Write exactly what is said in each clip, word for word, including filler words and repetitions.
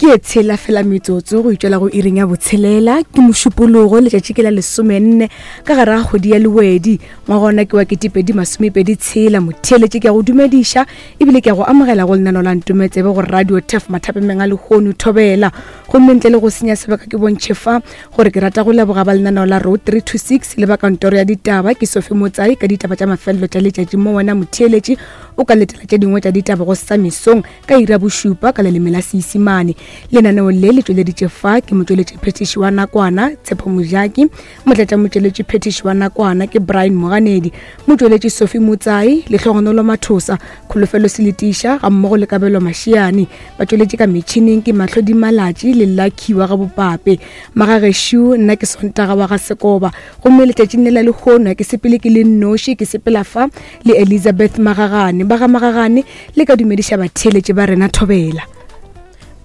Ke e tshela fela metsotso go itšwela go iring ya botshelela. Ke Mošupologo, letšatši ke la lesomenne ka gare ga kgwedi ya Lewedi, ngwagona ke wa ketepedi masomepedi tshela. Motheeletše, ke a go dumediša ebile ke a go amogela go lenaneo la Ntometsebe go Radio Tef mathapemeng a lehono thobela. Gomme ntle le go senya sebaka ke bontšhe fa gore ke rata go leboga ba lenaneo la Road three two six le ba kantoro ya ditaba ke Sophie Motsai ka ditaba tša mafelelo tša letšatši mo wena motheeletše o ka letela tše dingwe tša ditaba go sa mesong ka ira bošupa ka leleme la Seisimane. Lenaneo le le tšweleditše fa ke motšweletši phetiši wa nakwana Tshepo Mojaki, motlatša motšweletši phetiši wa nakwana ke Brian Moganedi, motšweletši Sophie Motsai, Lehlogonolo Mathosa, Kholofelo Seletiša ga mmogo le Kabelo Mashiane. Batšweletši ka metšhineng ke Mahlodi Malatši le Lucky wa ga Bopape. Magagešu, nna ke Sontaga wa ga Sekoba, gomme letšatšing le la lehono ke sepele ke le nnoši, ke sepela fa le Elizabeth Magagane. Ba ga Magagane le ka dumediša batheeletši ba rena thobela.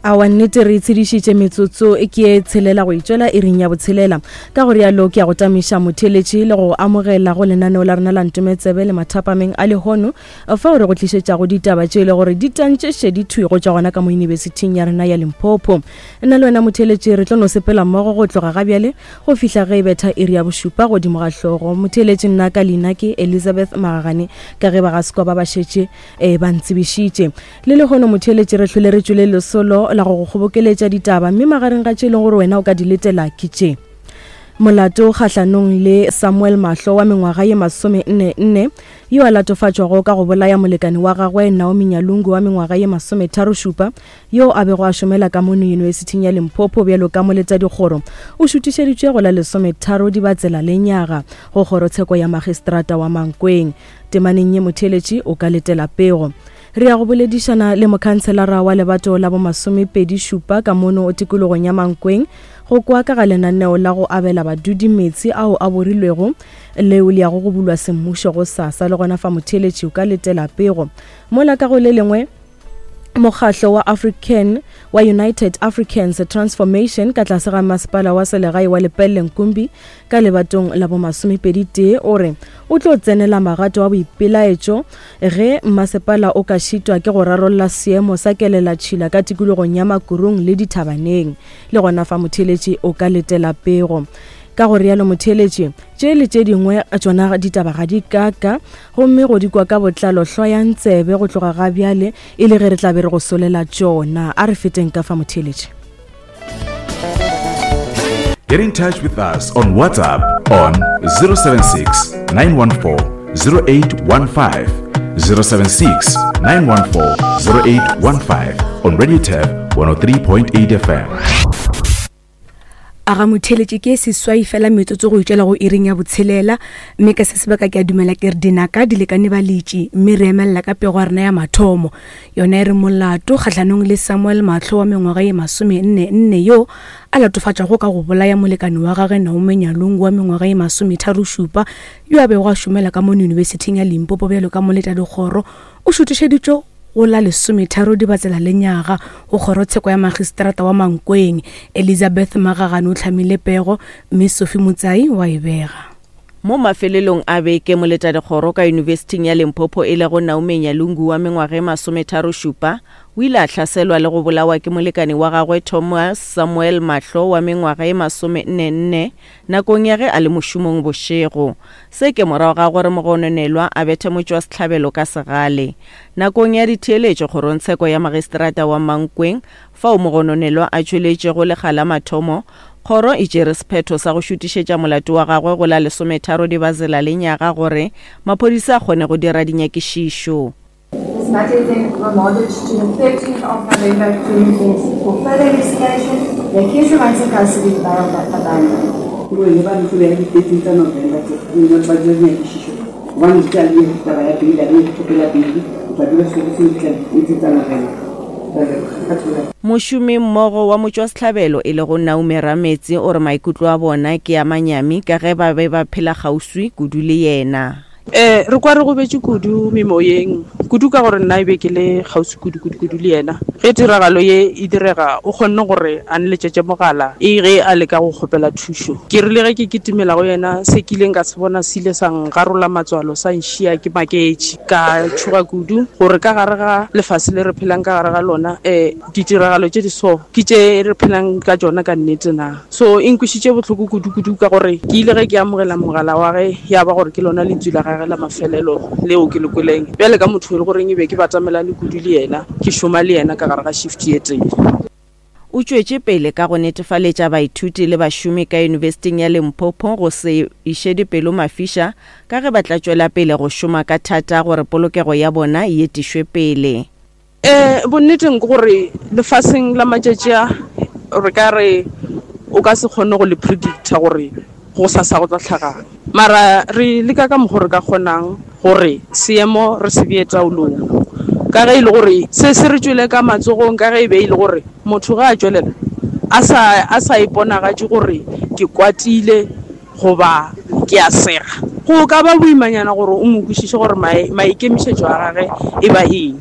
Awa nnete re itshedišitše metsotso ke e tshelela go itšwela iring ya botshelela. Ka go rialo ke ya go tamiša motheeletši le go amogela go lenaneo la rena la Ntometsebe le mathapameng a lehono fao re go tlišetšago ditaba tše e le gore di tantše šedi thwi go tšwa gona ka mo yunibesithing ya rena ya Limpopo. Nna le wena motheeletši re tlo no sepela mmogo go tloga ga bjale go fihla ge e betha iri ya bošupa godimo ga hlogo. Motheeletši nna ka leina ke Elizabeth Magagane ka ge ba ga Sekoba ba šetše eh, ba ntsebišitše. Le lehono motheeletši re hlwele re tšwele lesolo la go go kgobokeletša ditaba, mme magareng ga tše e leng gore wena o ka di letela ke tše: molato kgahlanong le Samuel Mahlo wa mengwaga ye masome nne nne yo a latofatšwago ka go bolaya molekane wa gagwe Naomi Nyalungu wa mengwaga ye masometharo šupa yo a bego a šomela ka mono yunibesithing ya Limpopo bjalo ka moletadikgoro, o šutišeditšwe go la lesometharo Dibatsela lenyaga go kgorotsheko ya magistrata wa Mankweng. Temaneng ye motheeletši o ka letela pego. Re ya go boledišana le mokhanselara wa lebato la bomasomepedi šupa ka mono tikologong ya Mankweng go kwa ka ga lenaneo la go abela badudi meetse ao a borilwego leo le yago go bulwa semmušo go sasa. Le gona fa motheeletši o ka letela pego. Mola ka go le lengwe, mokgahlo wa African wa United Africans Transformation ka tlase ga masepala wa selegae wa Lepelle Nkumbi ka lebatong la bomasomepedi tee o re o tlo tsenela magato a boipelaetšo ge masepala o ka šitwa ke go rarolla seemo sa kelelatšhila ka tikologong ya Makurung le dithabaneng. Le gona fa motheeletši o ka letela pego. Ka go rialo motheeletši, tše le tše dingwe tšona ditaba ga di kaka, gomme go di kwa ka botlalo hlwayang tsebe go tloga ga bjale e le ge re tla be re go solela tšona. A re feteng ka fa motheeletši. Get in touch with us on WhatsApp on zero seven six, nine one four, zero eight one five, zero seven six, nine one four, zero eight one five on Radio Turf one oh three point eight F M. A ga motheeletši ke seswai fela metsotso go itšwela go iring ya botshelela, mme ka se sebaka ke a dumela ke re dinaka di lekane baletši, mme re emelela ka pego ya rena ya mathomo. Yona e re molato kgahlanong le Samuel Mahlo wa mengwaga ye masome nne nne yo a latofatšwago ka go bolaya molekane wa gagwe Naomi Nyalungu wa mengwaga ye masometharo šupa yo a bego a šomela ka mono yunibesithing ya Limpopo bjalo ka moletadikgoro, o šutišeditšwe go la lesometharo Dibatsela lenyaga go kgorotsheko ya magistrata wa Mankweng. Elizabeth Magagane o hlamile pego, mme Sophie Motsai wa e bega. Mo mafelelong a beke moletadikgoro ka yunibesithing ya Limpopo e lego Naomi Nyalungu wa mengwaga e masometharo šupa o ile a hlaselwa le go bolawa ke molekane wa gagwe Thomas Samuel Mahlo wa mengwaga e masome nne nne nakong ya ge a le mošomong bošego. Se ke morago ga gore mogononelwa a bethe motšwasehlabelo ka segale. Nakong ya ditheeletšo kgorongtsheko ya magistrata wa Mankweng fao mogononelwa a tšweletšego lekga la mathomo, kgoro e tšere sephetho sa go šutišetša molato wa gagwe go la lesometharo Dibatsela lenyaga gore maphodisa a kgone go dira dinyakišišo. This matter is then remanded to the thirteenth of November twenty twenty for further investigation. The accused remains in custody, bail abandoned. Mošomi mmogo wa motšwasehlabelo e lego Naomi Rametsi o re maikutlo a bona ke a manyami ka ge ba be ba phela kgauswi kudu le yena. Eh re kwa re gobetše kudu memoyeng, kudu ka gore nna e be ke le kgauswi kudu kudu kudu le yena. Ge tiragalo ye e direga o kgonne gore a nletšetše mogala e ge a leka go kgopela thušo. Ke rile ge ke kitimela go yena, se ke ileng ka se bona se ile sa ngarola matswalo, sa nšia ke maketše. Ka tšhoga kudu gore ka gare ga lefase le re phelang ka gare ga lona, um ditiragalo tše di so ke tše re phelang ka tšona ka nnete na. So e nkwišitše bohloko kudu kudu ka gore ke ile ge ke amogela mogala wa ge ya ba gore ke lona lentswe la gage la mafelelo leo ke le kweleng. Bjale ka motho e le goreng e be ke batamelane kudu le yena, ke šoma le yena ka gare ga shift ye tee. O tšwetše pele ka go netefaletša baithuti le bašomi ka Yunibesithing ya Limpopo go se iše dipelo mafiša ka ge ba tla tšwela pele go šoma ka thata gore polokego ya bona e etišwe pele. Eh bonneteng ke gore lefaseng la matšatši a re ka re o ka se kgone go le predicta gore go sasa go tla tlhagang, mara re leka ka mokgwa re ka kgonang gore seemo re se bee taolong, ka ge e le gore se se re tšwele ka matsogong, ka ge e be e le gore motho ga a tšwelela a sa a sa iponagatše gore ke kwatile goba ke a sega, go ka ba boimanyana gore o mo kwešiše gore maikemišetšo a gage e ba eng.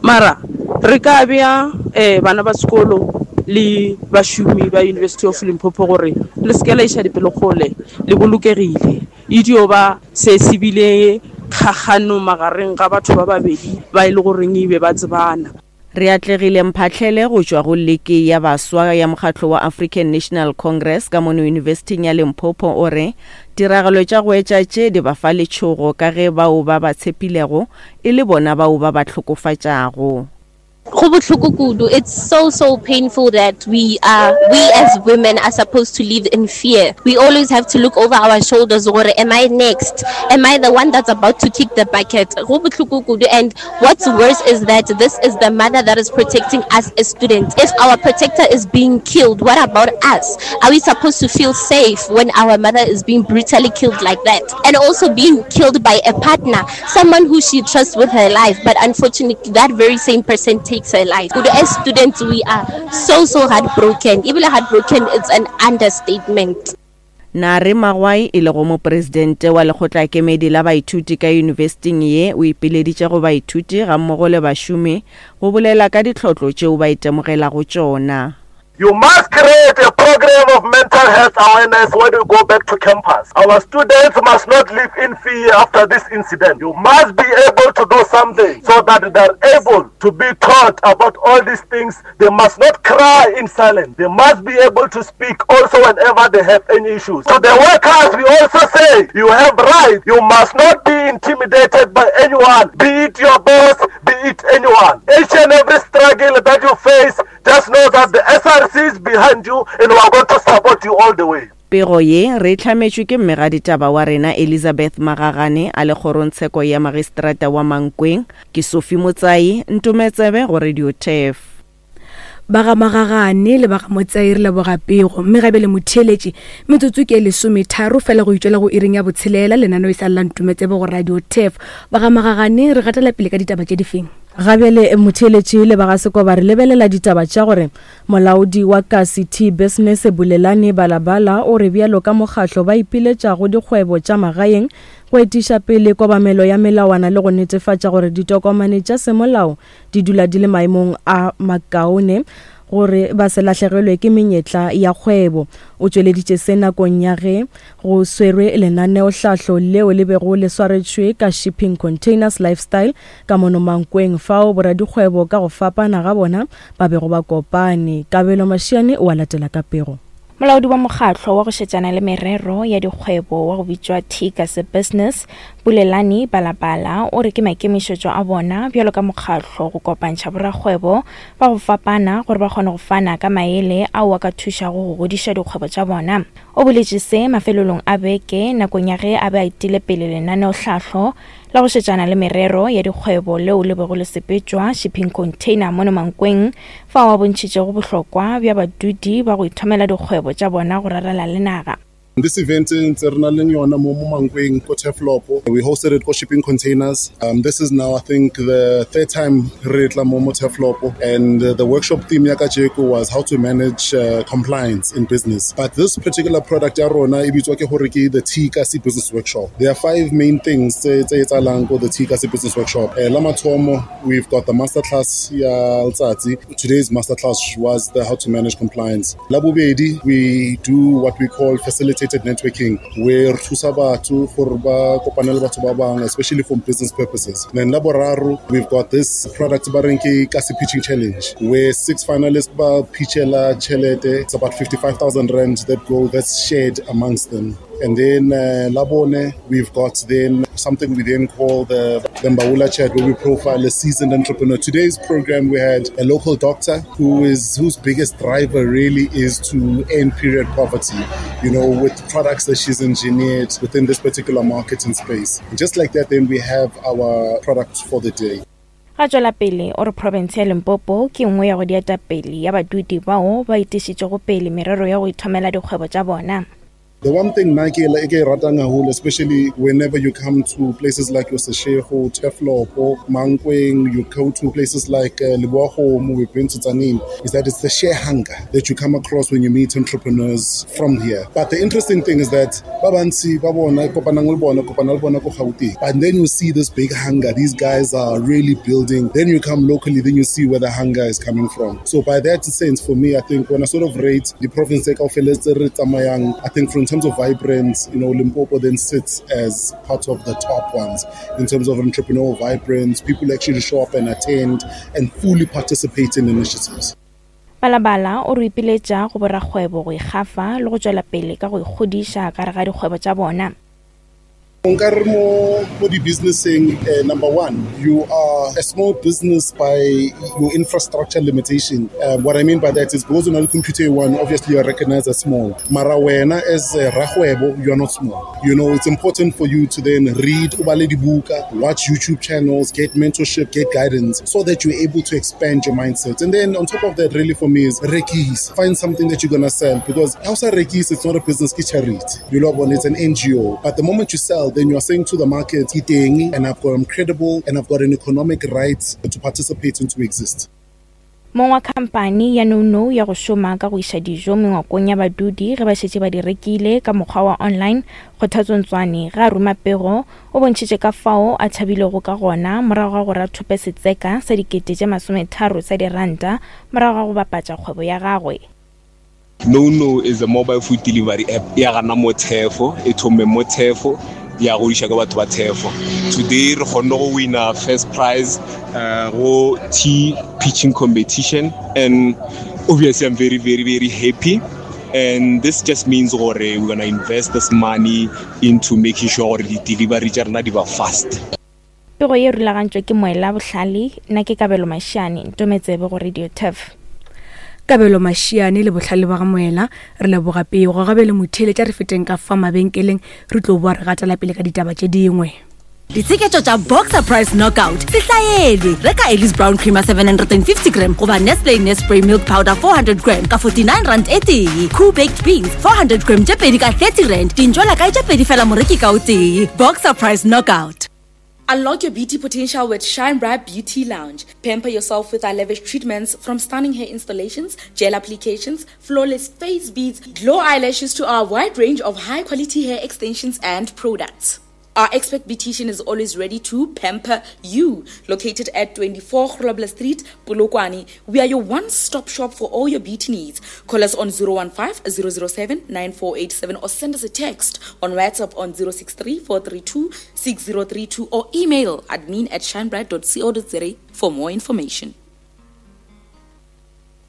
Mara re ka bea um bana ba sekolo le bašomi ba University of Limpopo gore le se ke la iša dipelo kgole, le bolokegile. E dio ba se se bile kgakgano magareng ga batho ba babedi ba e le goreng e be ba tsebana. Re atlegile Mphahlele go tšwa go Liki ya Baswa ya mokgatlo wa African National Congress ka mono Yunibesithing ya Limpopo o re tiragalo tša go etša tše di ba fa letšhogo ka ge bao ba ba tshepilego e le bona bao ba ba hlokofatšago. Go bohloko kudu. It's so so painful that we are we as women are supposed to live in fear. We always have to look over our shoulders gore am I next? Am I the one that's about to kick the bucket? Go bohloko kudu. And what's worse is that this is the mother that is protecting us as students. If our protector is being killed, what about us? Are we supposed to feel safe when our mother is being brutally killed like that? And also being killed by a partner, someone who she trusts with her life, but unfortunately that very same person takes her life. As students, we are so, so heartbroken. Even heartbroken, it's an understatement. Nare Magwai e lego mopresidente wa lekgotlakemedi la baithuti ka yunibesithing ye o ipileditše go baithuti gammogo le bašomi go bolela ka ditlhotlo tšeo ba itemogelago tšona. You must create a program of mental health awareness when you go back to campus. Our students must not live in fear after this incident. You must be able to do something so that they are able to be taught about all these things. They must not cry in silence. They must be able to speak also whenever they have any issues. To the workers, we also say you have rights. You must not be intimidated by anyone, be it your boss, be it anyone. Each and every struggle that you face, just know that the S R C is behind you and we are going to support you all the way. Pego ye re hlametšwe ke mmegaditaba wa rena Elizabeth Magagane a le kgorongtsheko ya magistrata wa Mankweng. Ke Sophie Motsai, Ntometsebe go Radio T E F. Ba ga Magagane le ba ga Motsai re leboga pego, mme gabe le motheeletši metsotso ke lesometharo fela go itšwela go iring ya botshelela lenaneo e sa lla Ntometsebe go Radio T E F. Ba ga Magagane re gatela pele ka ditaba tše difeng? Gabjale motheeletši le ba ga Sekoba re lebelela ditaba tša gore molaodi wa Kasi Tea Business Bulelani Balabala o re bjalo ka mokgatlo ba ipiletša go dikgwebo tša magaeng go etiša pele kobamelo ya melawana le go netefatša gore ditokomane tša semolao di dula di le maemong a makaone gore ba se lahlegelwe ke menyetla ya kgwebo. O tšweleditše se nakong ya ge go swerwe lenaneohlahlo leo le bego le swaretšwe ka Shipping Containers Lifestyle ka mono Mankweng, fao boradikgwebo ka go fapana ga bona ba bego ba kopane. Kabelo Mashiane o a latela ka pego. Molaodi wa mokgatlo wa go šetšana le merero ya dikgwebo wa go bitšwa Tea Business, Bulelani Balabala, o re ke maikemišetšo a bona bjalo ka mokgatlo go kopantšha borakgwebo ba go fapana gore ba kgone go fana ka maele ao a ka thušago go godiša dikgwebo tša bona. O boletše se mafelelong a beke nakong ya ge a be a etile pele lenaneohlahlo la go šetšana le merero ya dikgwebo leo le bego le sepetšwa Shipping Container mono Mankweng, fao a bontšhitšego bohlokwa bja badudi ba go ithomela dikgwebo tša bona go rarela le naga. This event ntse re na le yona mo mo Mankweng ko Turfloop. We hosted it ko shipping containers. Um, this is now I think the third time re tla mo mo Turfloop, and uh, the workshop theme ya kajeko was how to manage uh, compliance in business. But this particular product ya rona e bitswa ke hore ke the T-Kasi Business Workshop. There are five main things tse tse etsahalang ko the T-Kasi Business Workshop. Eh, la mathomo, we've got the masterclass ya letsatsi. Today's masterclass was the how to manage compliance. La bobedi, we do what we call facilitated networking, where re thusa batho gore ba kopane le batho ba bang, especially for business purposes. Then la boraro, we've got this product ba reng ke Kasi Pitching Challenge, where six finalists ba pitchela tjhelete. It's about fifty-five thousand rand that go, that's shared amongst them. And then, uh, la bone, we've got then something we then call the, the Mbaula Chat, where we profile a seasoned entrepreneur. Today's program, we had a local doctor who is whose biggest driver really is to end period poverty, you know, with products that she's engineered within this particular market and space. And just like that, then we have our product for the day. Ga tswela pele o re province ya Limpopo ke nngwe ya go dieta pele ya badudi bao ba itišitšego pele merero ya go ithomela dikgwebo tša bona. The one thing Nike e ke e ratang haholo, especially whenever you come to places like your Seshego, Turfloop, Mankweng, you go to places like, uh, Leboa, we've been to Tzaneen, is that it's the sheer hunger that you come across when you meet entrepreneurs from here. But the interesting thing is that ba bantsi ba bona, kopanang le bona, kopana le bona ko Gauteng. And then you see this big hunger. These guys are really building. Then you come locally, then you see where the hunger is coming from. So by that sense, for me, I think when I sort of rate the province kaofela tse re tsamayang, I think from terms of vibrance, you know, Limpopo then sits as part of the top ones in terms of entrepreneurial vibrance. People actually show up and attend and fully participate in initiatives. Balabala o re ipiletša go borakgwebo go ikgafa le go tšwela pele ka go ikgodiša ka gare ga dikgwebo tša bona. Nkare mo, mo di-businesseng, eh, number one, you are a small business by your infrastructure limitation. Uh, what I mean by that is because on computer one, obviously you are recognized as small. Mara wena as a rakgwebo, you are not small. You know, it's important for you to then read, o bale dibuka, watch YouTube channels, get mentorship, get guidance, so that you're able to expand your mindset. And then on top of that, really for me is rekis. Find something that you're gonna sell, because outside rekis, it's not a business, it's charity. You love one, it's an N G O. But the moment you sell, then you are saying to the market, Ke teng, and I've got, I'm credible, and I've got an economic right to participate and to exist. Mong wa khamphani ya Nono ya go šoma ka go iša dijo mengwakong ya badudi ge ba šetše ba di rekile ka mokgwa wa online, Kgothatso Ntswane ga a ruma pego o bontšhitše ka fao a thabilego ka gona morago ga gore a thope setseka sa dikete tše masometharo tsa diranta morago ga go bapatša kgwebo ya gagwe. Nono is a mobile food delivery app ya gana mo Thefo, e thome mo Thefo, ya go iša ka batho ba Thefo. Today re kgonne go wina first prize, uh, go tea pitching competition, and obviously I'm very, very, very happy. And this just means gore we're gonna invest this money into making sure gore di delivery tša rena di ba fast. Pego ye rulagantšwe ke Moela Bohlale, nna ke Kabelo Mashiane, Ntometsebe go Radio Turf. Kabelo Mashiane le bohlale ba ga Moela, re leboga pego. Gabe le motheeletša re feteng ka fa mabenkeleng, re tlo boa re gatela pele ka ditaba tše dingwe. Ditsheketšo tša Boxer Price Knockout se hlaelwe. Reka Ellis Brown Creamer seven hundred and fifty gram goba Nestle Nespray Milk Powder four hundred gram ka forty-nine rand e tee. Cool Baked Beans four hundred gram tše pedi ka thirty rand. Dintšwela kae tše pedi fela moreki ka o tee. Boxer Price Knockout. Unlock your beauty potential with Shine Bright Beauty Lounge. Pamper yourself with our lavish treatments, from stunning hair installations, gel applications, flawless face beads, glow eyelashes to our wide range of high-quality hair extensions and products. Our expert beautician is always ready to pamper you. Located at twenty-four Grobler Street, Polokwane, we are your one-stop shop for all your beauty needs. Call us on zero one five, zero zero seven, nine four eight seven or send us a text on WhatsApp on zero six three, four three two, six zero three two or email admin at shinebright dot co dot za for more information.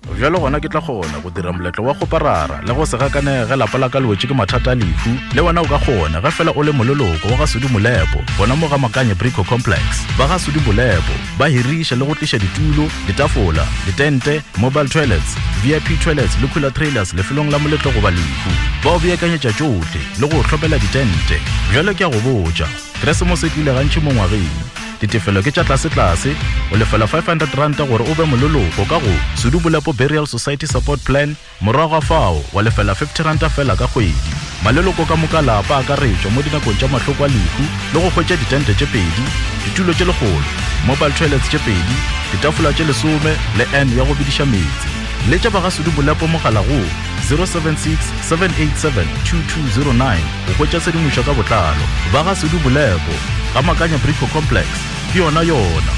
Bjalo gona ke tla kgona go dira moletlo wa go parara le go se gakanege ge lapa la ka le wetše ke mathata a lehu. Le wena o ka kgona ge fela o le moleloko wa ga Sudi Molepo, gona mo ga Makanye Brico Complex. Ba ga Sudi Molepo ba hiriša le go tliša ditulo, ditafola, ditente, mobile toilets, V I P toilets le cooler trailers lefelong la moletlo goba lehu. Ba o beakanyetša tšohle le go o hlopela ditente. Bjalo ke a go botša, Keresemose e tlile gantši mo ngwageng. Ditefelo ke tša tlasetlase, o lefela five hundred ranta gore o be moleloko ka go Sedubolepo Burial Society Support Plan, morago ga fao wa lefela fifty ranta fela ka kgwedi. Maleloko ka moka lapa a akaretšwa mo dinakong tša mahloko a lehu le go hwetša ditente tše pedi, ditulo tše lekgolo, mobile toilets tše pedi, ditafola tše lesome le N ya go bediša meetse. Letša ba ga Sedubolepo mogala go zero seven six, seven eight seven, two two zero nine go hwetša tshedimošo ka botlalo. Ba ga Sedubolepo, ga Makanya Brico Complex, ke yona yona.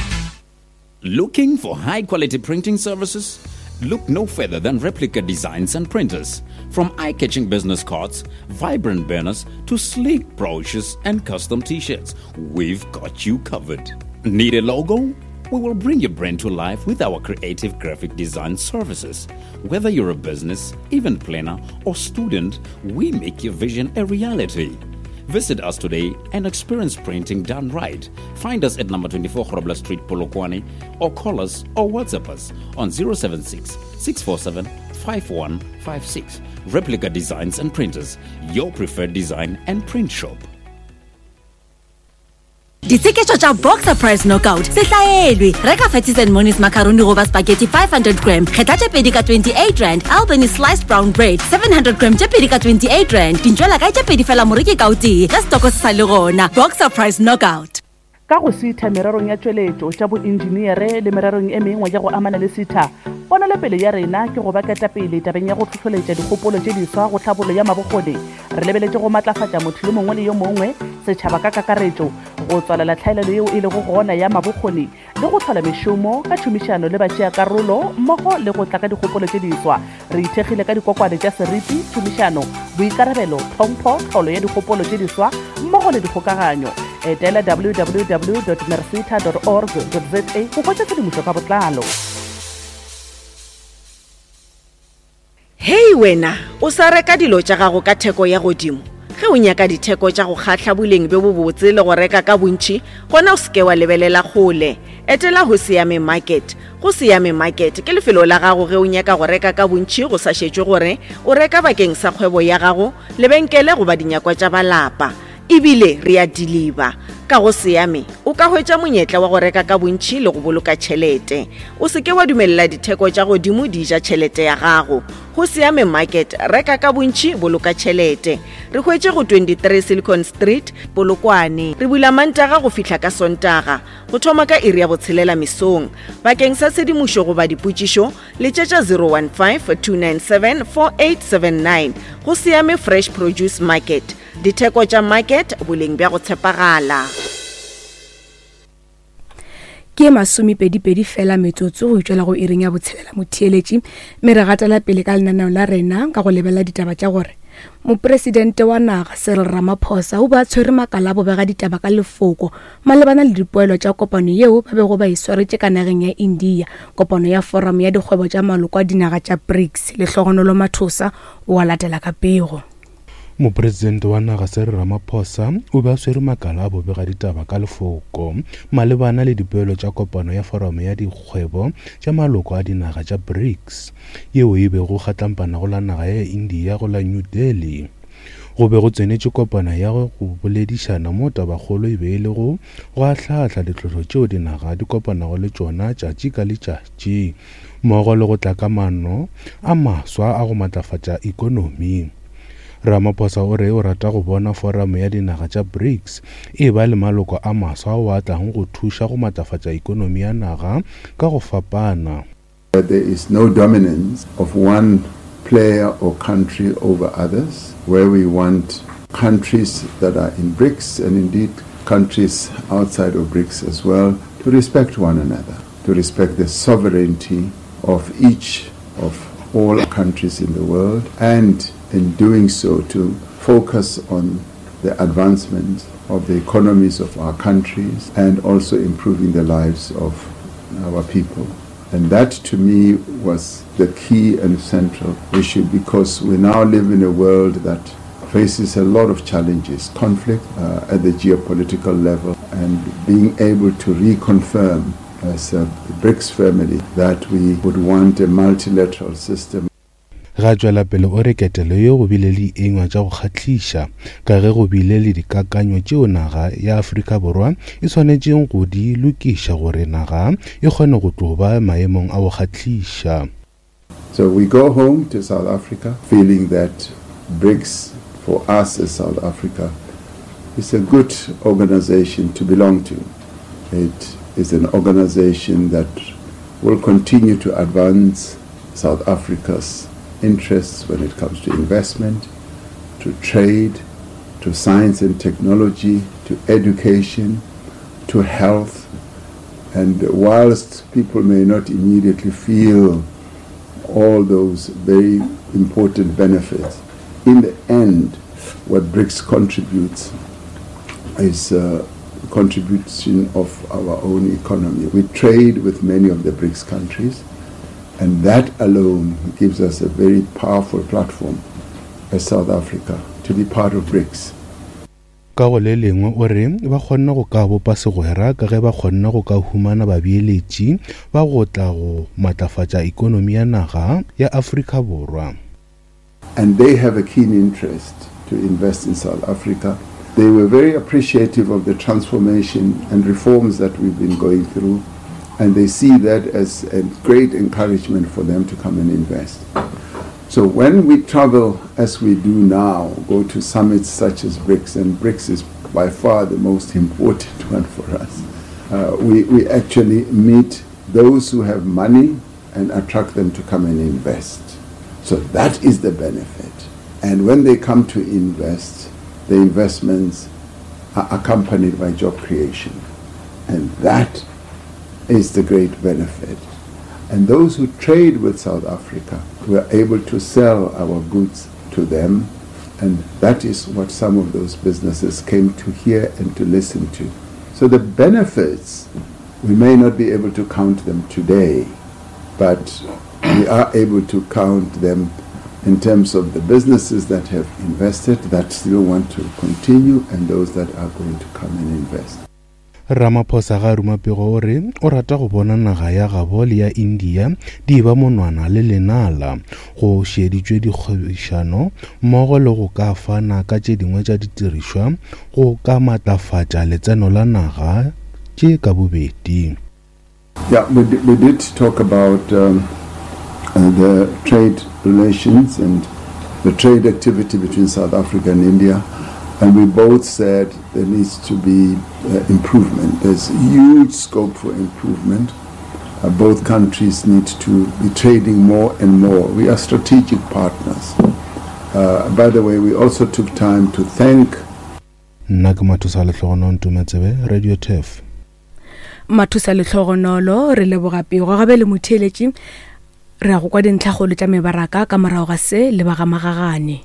Looking for high quality printing services? Look no further than Replica Designs and Printers. From eye-catching business cards, vibrant banners, to sleek brochures and custom t-shirts, we've got you covered. Need a logo? We will bring your brand to life with our creative graphic design services. Whether you're a business, event planner, or student, we make your vision a reality. Visit us today and experience printing done right. Find us at number twenty-four Grobler Street, Polokwane, or call us or WhatsApp us on zero seven six, six four seven, five one five six. Replica Designs and Printers, your preferred design and print shop. Ditsheketšo tša Boxer Price Knockout se hlaelwe. Reka Fatties and Monies macaroni goba spaghetti five hundred gram, kgetha tše pedi ka twenty-eight rand. Albany sliced brown bread seven hundred gram tše pedi ka twenty-eight rand. Dintšwela kae tše pedi fela moreki ka o tee, ge setoko se sa le gona. Boxer Price Knockout. Ka go sitha mererong ya tšweletšo tša boenjiniere le mererong e mengwe ya go amana le sitha, ponelopele ya rena ke go ba ketapele tabeng ya go hlohloletša dikgopolo tše diswa go tlhabollo ya mabokgoni. Re lebeletše go matlafatša motho yo mongwe le yo mongwe, setšhaba ka kakaretšo, go tswalela tlhaelelo yeo e lego gona ya mabokgoni le go hlola mešomo ka tšhomišano le batšeakarolo mmogo le go tla ka dikgopolo tše diswa. Re ithekgile ka dikokwane tša seriti, tšhomišano, boikarabelo, tlhompho, tlholo ya dikgopolo tše diswa mmogo le dikgokaganyo. Etela w w w dot merseta dot org dot z a go hwetša tshedimošo ka botlalo. Hei wena, o sa reka dilo tša gago ka theko ya godimo. Ge o nyaka ditheko tša go kgahla boleng bjo bobotse le go reka ka bontši, gona o seke wa lebelela kgole. Etela go Siame Market. Go Siame Market ke lefelo la gago ge o nyaka go reka ka bontši go sa šetšwe gore o reka bakeng sa kgwebo ya gago, lebenkele goba dinyakwa tša balapa. Ebile re a deliver. Ka go Siame o ka hwetša monyetla wa go reka ka bontši le go boloka tšhelete. O seke wa dumelela ditheko tša godimo di ja tšhelete ya gago. Go Siame Market, reka ka bontši, boloka tšhelete. Re hwetše go twenty-three Silicon Street, Polokwane. Re bula Mantaga go fihla ka Sontaga, go thoma ka iri ya botshelela mesong. Bakeng sa tshedimošo goba dipotšišo, letšetša zero one five, two nine seven, four eight seven nine. Go Siame Fresh Produce Market. Ditheko tša market, boleng bja go tshepagala. Ke masomepedi-pedi fela metsotso go itšwela go iring ya botshelela motheeletši, mme re gatela pele ka lenaneo la rena ka go lebelela ditaba tša gore mopresidente wa naga Cyril Ramaphosa o ba tshwere makala a bobega ditaba ka lefoko malebana le dipoelo tša kopano yeo ba bego ba e swaretše ka nageng ya India, kopano ya forum ya dikgwebo tša maloko a dinaga tša BRICS. Lehlogonolo Mathosa o a latela ka pego. Mopresidente wa naga Cyril Ramaphosa o be a swere makala a bobega ditaba ka lefoko malebana le dipoelo tša kopano ya forum ya dikgwebo tša maloko a dinaga tša BRICS yeo e bego kgatlampana go la naga ya India go la New Delhi. Go be go tsenetše kopano ya go boledišana mo tabakgolo e be e le go go ahlaahla ditlhohlo tšeo dinaga di kopanago le tšona tšatši ka letšatši mmogo le go tla ka maano a maswa a go matlafatša ikonomi. Ramaphosa o re o rata go bona forum ya dinaga tša BRICS e ba le maloko a maswa ao a tlang go thuša go matlafatša ikonomi ya naga ka go fapana. There is no dominance of one player or country over others, where we want countries that are in BRICS and indeed countries outside of BRICS as well to respect one another, to respect the sovereignty of each of all countries in the world, and in doing so to focus on the advancement of the economies of our countries and also improving the lives of our people. And that to me was the key and central issue, because we now live in a world that faces a lot of challenges, conflict, uh, at the geopolitical level, and being able to reconfirm as a BRICS family that we would want a multilateral system. Ge Ga tšwela pele o re ketelo ye go bile le dienywa tša go kgahliša ka ge go bile le dikakanyo tšeo naga ya Afrika Borwa e swanetšeng go di lokiša gore naga e kgone go tlo ba maemong a go kgahliša. So we go home to South Africa feeling that BRICS for us as South Africa is a good organization to belong to. It is an organization that will continue to advance South Africa's interests when it comes to investment, to trade, to science and technology, to education, to health. And whilst people may not immediately feel all those very important benefits, in the end, what BRICS contributes is a contribution of our own economy. We trade with many of the BRICS countries, and that alone gives us a very powerful platform as South Africa to be part of BRICS. Ka go le lengwe o re ba kgonne go ka bopa segwera ka ge ba kgonne go ka humana babeeletši ba go tla go matlafatša ikonomi ya naga ya Afrika Borwa. And they have a keen interest to invest in South Africa. They were very appreciative of the transformation and reforms that we've been going through, and they see that as a great encouragement for them to come and invest. So when we travel as we do now, go to summits such as BRICS, and BRICS is by far the most important one for us, uh, we, we actually meet those who have money and attract them to come and invest. So that is the benefit. And when they come to invest, the investments are accompanied by job creation. And that is the great benefit. And those who trade with South Africa, we are able to sell our goods to them. And that is what some of those businesses came to hear and to listen to. So the benefits, we may not be able to count them today, but we are able to count them in terms of the businesses that have invested, that still want to continue, and those that are going to come and invest. Ramaphosa ga ruma pego o re o rata go bona naga ya gabo le ya India di ba monwana le lenala go šeditšwe dikgwebišano mmogo le go ka fana ka tše dingwe tša ditirišwa go ka matlafatša letseno la naga tše ka bobedi. Yeah, we, we did talk about um, uh, the trade relations and the trade activity between South Africa and India. And we both said there needs to be uh, improvement. There's huge scope for improvement. Uh, both countries need to be trading more and more. We are strategic partners. Uh, by the way, we also took time to thank Nna ke Mathusa Lehlogonolo Ntometsebe, Radio Turf. Mathusa Lehlogonolo, re leboga pego gabe le motheeletši re ya go kwa dintlhakgolo tša mebaraka ka morago ga se le ba ga Magagane.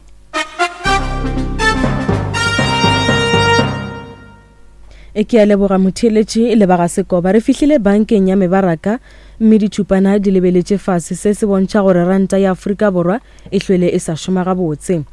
E ke a leboga motheeletši le ba ga Sekoba. Re fihlile bankeng ya mebaraka mme ditšhupana di lebeletše fase. Se se bontšha gore ranta ya Afrika Borwa e hlwele e sa šoma gabotse.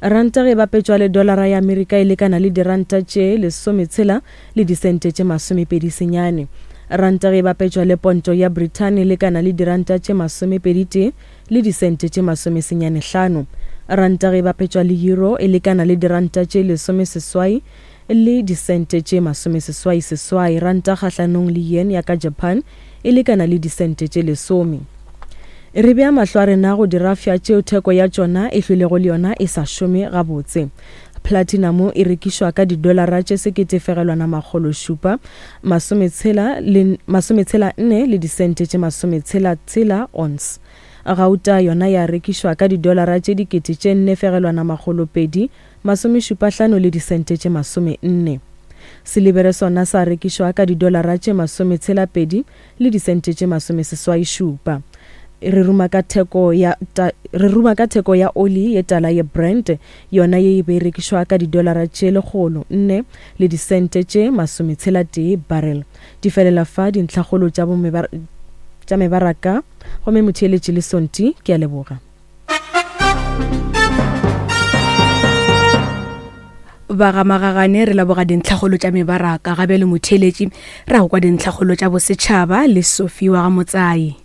Ranta ge bapetšwa le dolara ya Amerika e lekana le diranta tše lesometshela le disente tše masomepedi senyane. Ranta ge bapetšwa le ponto ya Britain e lekana le diranta tše masomepedi tee le disente tše masomesenyane hlano. Ranta ge bapetšwa le euro e lekana le diranta tše lesomeseswai le disente tše masomeseswai seswai. Ranta kgahlanong le yen ya ka Japan e lekana le disente tše lesome. Re bea mahlo a rena go dirafša tšeo theko ya tšona e hlwelego le yona e sa šome gabotse. Platinum e rekišwa ka didolara tše sekete fegelwana makgolo šupa masometshela le masometshela nne le disente tše masometshela tshela ounce. Gauta yona ya rekišwa ka didolara tše dikete tše nne fegelwana makgolo pedi masomešupa hlano le disente tše masome nne. Silibere sona sa rekišwa ka didolara tše masometshela pedi le disente tše masomeseswai šupa. Re ruma ka theko ya ta, re ruma ka theko ya oli ye tala ye Brent yona ye e be rekišwa ka didolara tše lekgolo nne le disente tše masometshela tee barrel. Di felela fa dintlhakgolo tša bomebara tša mebaraka gomme motheeletši le Sonti ke a leboga. Ba ga Magagane re leboga dintlhakgolo tša mebaraka gabe le motheeletši ra go kwa dintlhakgolo tša bosetšhaba le Sophie wa ga Motsai.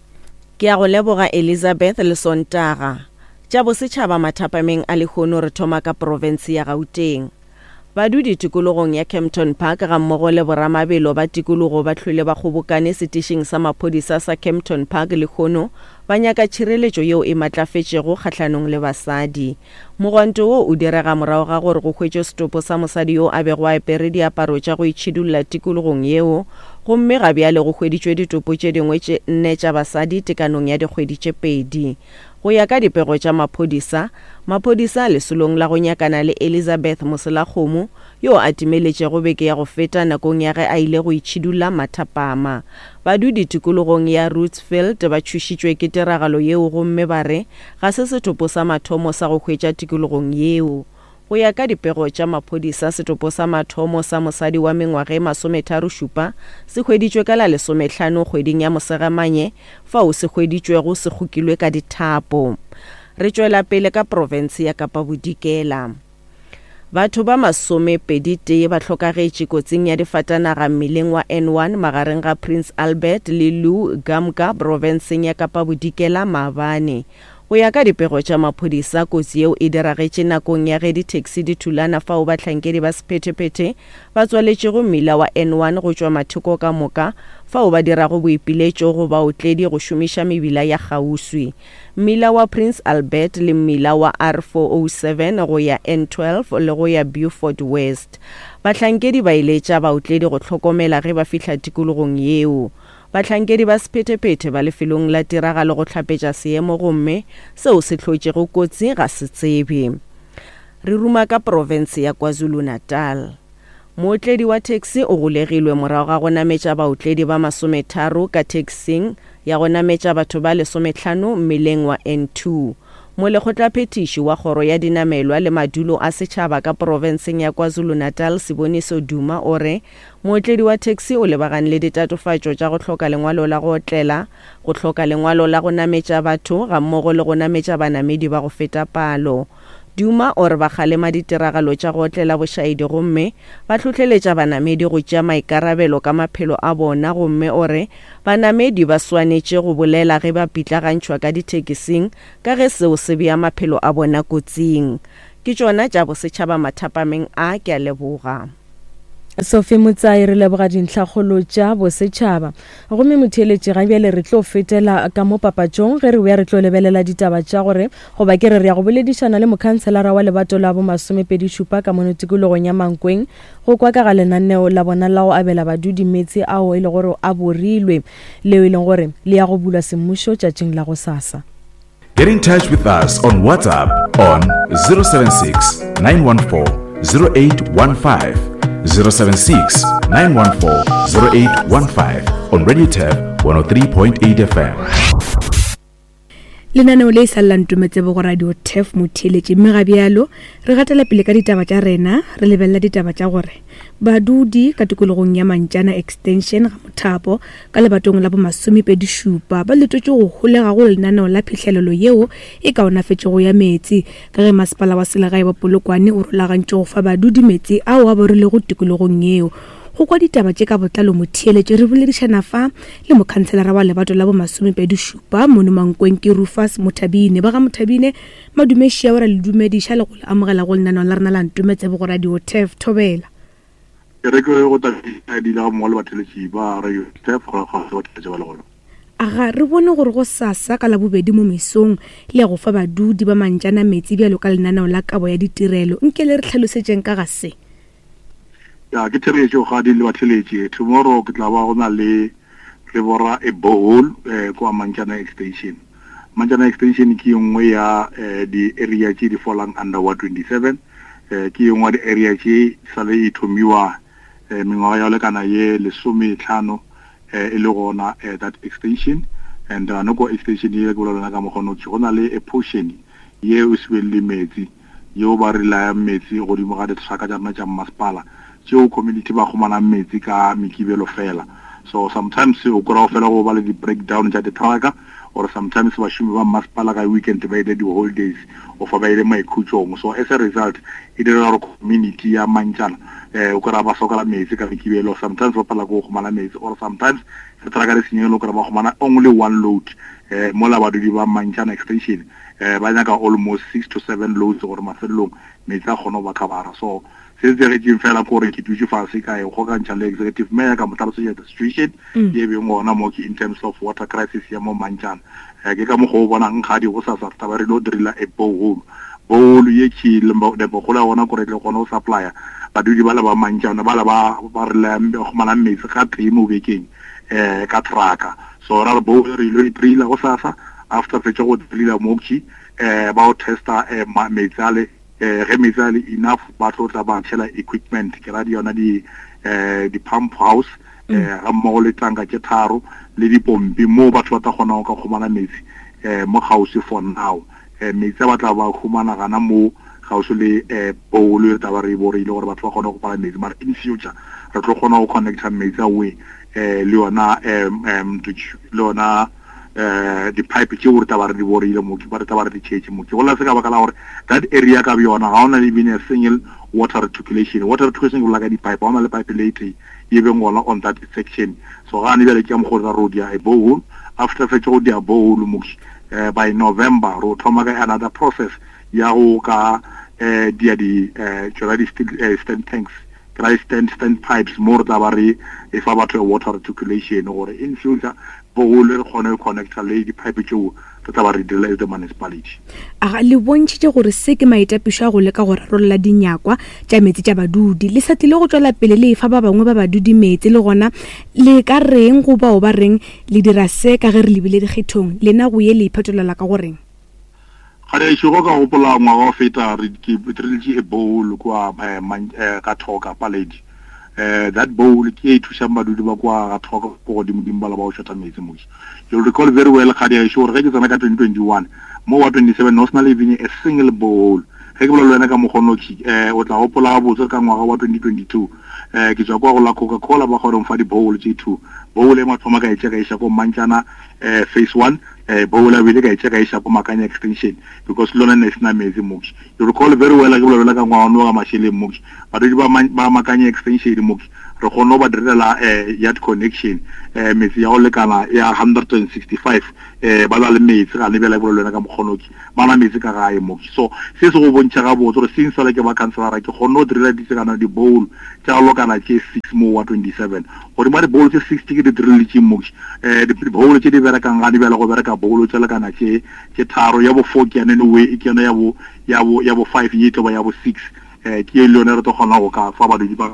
Ke a go leboga Elizabeth le Sontaga. Tša bosetšhaba mathapameng a lehono re thoma ka profense ya Gauteng. Badudi tikologong ya Kempton Park gammogo le boramabelo ba tikologo ba hlwele ba kgobokane setišing sa maphodisa sa Kempton Park lehono ba nyaka tšhireletšo yeo e matlafetšego kgahlanong le basadi. Mogwanto wo o direga morago ga gore go hwetšwe setopo sa mosadi yo a bego a apere diaparo tša go itšhidulla tikologong yeo, gomme ga bjale go hweditšwe ditopo tše dingwe tše nne tša basadi tekanong ya dikgwedi tše pedi. Go ya ka dipego tša maphodisa, maphodisa lesolong la go nyakana le Elizabeth Moselakgomo yo a timeletšego beke ya go feta nakong ya ge a ile go itšhidulla mathapama. Badudi tikologong ya Rootsfield ba tšhošitšwe ke tiragalo yeo gomme ba re ga se setopo sa mathomo sa go hwetša tikologong yeo. Go ya ka dipego tša maphodisa, setopo sa mathomo sa mosadi wa mengwaga e masometharo šupa se hweditšwe ka la lesomehlano kgweding ya Mosegamanye, fao se hweditšwego se kgokilwe ka dithapo. Re tšwela pele ka profense ya Kapa Bodikela. Batho ba masomepedi tee ba hlokagetše kotsing ya difatanaga mmileng wa N one magareng ga Prince Albert le Lou Gamka profenseng ya Kapa Bodikela maabane. Go ya ka dipego tša maphodisa, kotsi yeo e diragetše nakong ya ge di-taxi di thulana fao bahlankedi ba sephethephethe ba tswaletšego mmila wa N one go tšwa mathoko ka moka fao ba dirago boipiletšo go baotledi go šomiša mebila ya kgauswi. Mmila wa Prince Albert le mmila wa R four oh seven go ya N twelve le go ya Beaufort West. Bahlankedi ba iletša baotledi go hlokomela ge ba fihla tikologong yeo. Bahlankedi ba sephethephethe ba lefelong la tiragalo go hlapetša seemo gomme seo se hlotšego kotsi ga se tsebe. Re ruma ka profense ya KwaZulu-Natal. Mootledi wa taxi o golegilwe morago ga go nametša baotledi ba masometharo ka taxing ya go nametša batho ba lesomehlano mmeleng wa N two. Molekgotlaphethiši wa kgoro ya dinamelwa le madulo a setšhaba ka profenseng ya KwaZulu-Natal Siboniso Duma o re mootledi wa taxi o lebagane le ditatofatšo tša go hloka lengwalo la go otlela, go hloka lengwalo la go nametša batho gammogo le go nametša banamedi ba go feta palo. Duma o re ba kgalema ditiragalo tša go otlela bošaedi gomme ba hlohleletša banamedi go tšea maikarabelo ka maphelo a bona, gomme o re banamedi ba swanetše go bolela ge ba pitlagantšhwa ka dithekising ka ge seo se bea maphelo a bona kotsing. Ke tšona tša bosetšhaba mathapameng a, ke a leboga. Sophie Motsai, re leboga dintlhakgolo tša bosetšhaba. Gomme motheeletši ga bjale re tlo fetela ka mo papatšong ge re boya re tlo lebelela ditaba tša gore goba ke re re ya go boledišana le mokhanselara wa lebato la bo masomepedi šupa ka mono tikologong ya Mankweng go kwa ka ga lenaneo la bona la go abela badudi meetse ao e le gore a borilwe leo e leng gore le ya go bulwa semmušo tšatšing la gosasa. Get in touch with us on WhatsApp on zero seven six, nine one four, zero eight one five, zero seven six, nine one four, zero eight one five on Radio Turf one oh three point eight F M. Lenaneo le sa lla Ntometsebo go Radio Turf motheeletši, mme ga bjalo re gatela pele ka ditaba tša rena, re lebelela ditaba tša gore badudi ka tikologong ya Mantšana Extension ga Mothapo ka lebatong la bo masomepedi šupa ba letotše go holega go lenaneo la phihlelelo yeo e kaonafetšego ya meetse ka ge masepala wa selegae wa Polokwane o rulagantše go fa badudi meetse ao a borilego tikologong yeo. Go kwa ditaba tše ka botlalo motheeletši re boledišana fa le mokhanselara wa lebato la bo masomepedi šupa mono Mankweng ke Rufus Mothabine. Ba ga Mothabine, madumeši a ora le dumediša le go le amogela go lenaneo la rena la Ntometsebo go Radio Turf. Thobela. Ke re ke go tla di la mo le batheletši ba Radio Turf go ga go tla ba le gona. Aga re bone gore go sasa ka labobedi mo mesong le go fa badudi ba Mantšana metsi bjalo ka lenaneo la kabo ya ditirelo. Nke le re tlhalosetšeng ka ga se. Ya ke therešo ga di le batheletši. Tomorrow ke tla ba go na le re bora e borehole eh kwa Mantšana Extension. Mantšana Extension ke nngwe ya di area tše di fallang under Ward twenty-seven. Eh ke nngwe ya di area tše sale e thomiwa mengwaga ya lekana ye lesometlhano e le gona that extension. And noko extension ye ke bolela ka mokgono go na le a portion ye o se le metsi yeo ba re laya metsi godimo ga ditraka tša rena tša mmasepala tšeo community ba kgomanang metsi ka mekibelo fela. So sometimes o kry-a fela go ba le di-breakdown tša ditraka, or sometimes bašomi ba mmasepala ka weekend ba ile di-holidays or fa ba ile maikhutšong. So as a result e dira gore community ya Mantšana eh o kry-a ba sokola metsi ka mekibelo, sometimes ba palela ko go kgomana metsi, or sometimes Re trucka di senyegile, o kry ba kgomana only one load. Eh, mola badudi ba Mantšana Extension eh, ba nyaka almost six to seven loads gore mafelelong metsi a kgone go ba covera. So se se diretseng fela ke gore ke dutse fase ka e kgokantšha le executive mayor, ka mo tlhalosetsa the situation Mm. ye beng gona mo ke in terms of water crisis ya mo Mantšana. Eh, ke ka mokgwa o bonang kgadi go sasa re taba re lo drilla a borehole. Borehole ye ke lepogolo ya gona kore e tle kgone go supplya badudi ba le ba Mantšana ba le ba ba re le kgomanang metsi ga tee mo bekeng eh ka trucka. So ra re borehole re ilo e drilla go sasa, after fetša go drilla mokhi eh ba o testa eh, ma- metsi ale, eh ge metsi ale enough ba tlo tla ba tšhela equipment, ke ra di yona di eh di pump house eh ga mmogo le tanka tše tharo le dipompi mo batho ba tla kgona go ka kgomana metsi eh mo kgauswi for now. Eh metsi a ba tla ba humana gana mo kgauswi le eh borehole re tla ba re e boreile gore batho ba kgone go pala metsi, mara in future re tlo kgona go connecta metsi awe eh le yona em em le yona eh di-pipe tšeo re tla ba re di boreile mo ke ba re tla ba re di tšhetše mo ke gola se ka baka la gore that area ka bjona ga ona le even a single water reticulation. Water reticulation ke bolela ka di-pipe, ga ona le pipe le e tee ye beng gona on that section. So gane bjale ke ka mokgwa o re dia a borehole, after fetše go dia borehole mo eh by November ro thoma ka another process ya go ka eh dia di eh tšona di steel eh, stand tanks, ke ra stand stand pipes mo re tla ba re e fa batho water reticulation gore in future borehole re kgone go connecta le di-pipe tšeo re tla ba re direla as the municipality. Aga le bontšhitše gore se ke maitapišo a go leka go rarolla dinyakwa tša metsi tša badudi. Le sa tlile go tšwela pele le efa ba bangwe ba badudi metsi, le gona le ka reng go bao ba reng le dira se ka ge re lebile dikgethong, lena go ye le iphetolela ka goreng? Ga go ka gopola ngwaga wa feta re ke drilletše a borehole kwa eh, Man- eh, ga Thoka Paledi. Eh that borehole ke e thušang badudi ba kwa ga Thoka ko godimo-dimo ba la ba go shota metsi mo. You'll recall very well kgadi ya gore ge ke tsena ka twenty twenty-one mo wa twenty-seven no sena le even a single borehole. Ge ke bolela le wena ka mokgono eh o tla gopola gabotse ka ngwaga wa twenty twenty-two eh ke tswa kwa go la Coca-Cola ba kgone go mfa di-borehole tše two. Borehole e mathomo ka e tšea ka iša ko Mantšana eh phase one, eh borehole ya bobedi ka e tšea ka iša ko Makanya extension because le yona ne e sena metsi mo. You recall very well ke bolela ka ngwaga ono wa mašeleng mo, badudi ba ba Makanya extension mo re kgonne go ba direla eh yard connection eh metsi ya go lekana ya hundred and sixty-five eh ba na le metsi ga ne bjale ke bolela le wena ka mokgono ke ba na metsi ka gae mo. So se se go bontšha gabotse gore since le ke ba councillor ke kgonne go direla ditsekana di-borehole tša go lokana tše six mo wa twenty-seven. Godimo ga di-borehole tše six tše ke di diriletšeng mo, eh di-borehole tše di berekang ga di bjale go bereka borehole tša lekana tše tše tharo, ya bo four ke yone anyway, ke yone ya bo ya bo ya bo five ye tlo ba ya bo six. Eh ke le yone re tlo kgona go ka fa badudi ba